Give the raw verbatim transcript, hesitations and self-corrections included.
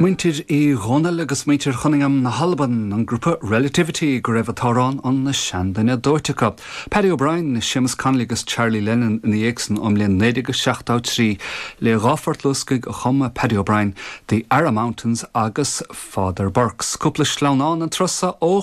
Muintir Uí Dhónaill agus muintir Chunningham na hAlban an grúpa Relativity go raibh an t-amhrán an seanduine dóite acu. Paddy O'Brien, Seamus Connolly agus Charlie Lennon ina dhiaidh san ón mbliain naoi déag seachtó trí le dhá phort luascaigh a chum Paddy O'Brien, The Arra Mountains agus Father Burke's. Cúpla sleamhnán an turas ó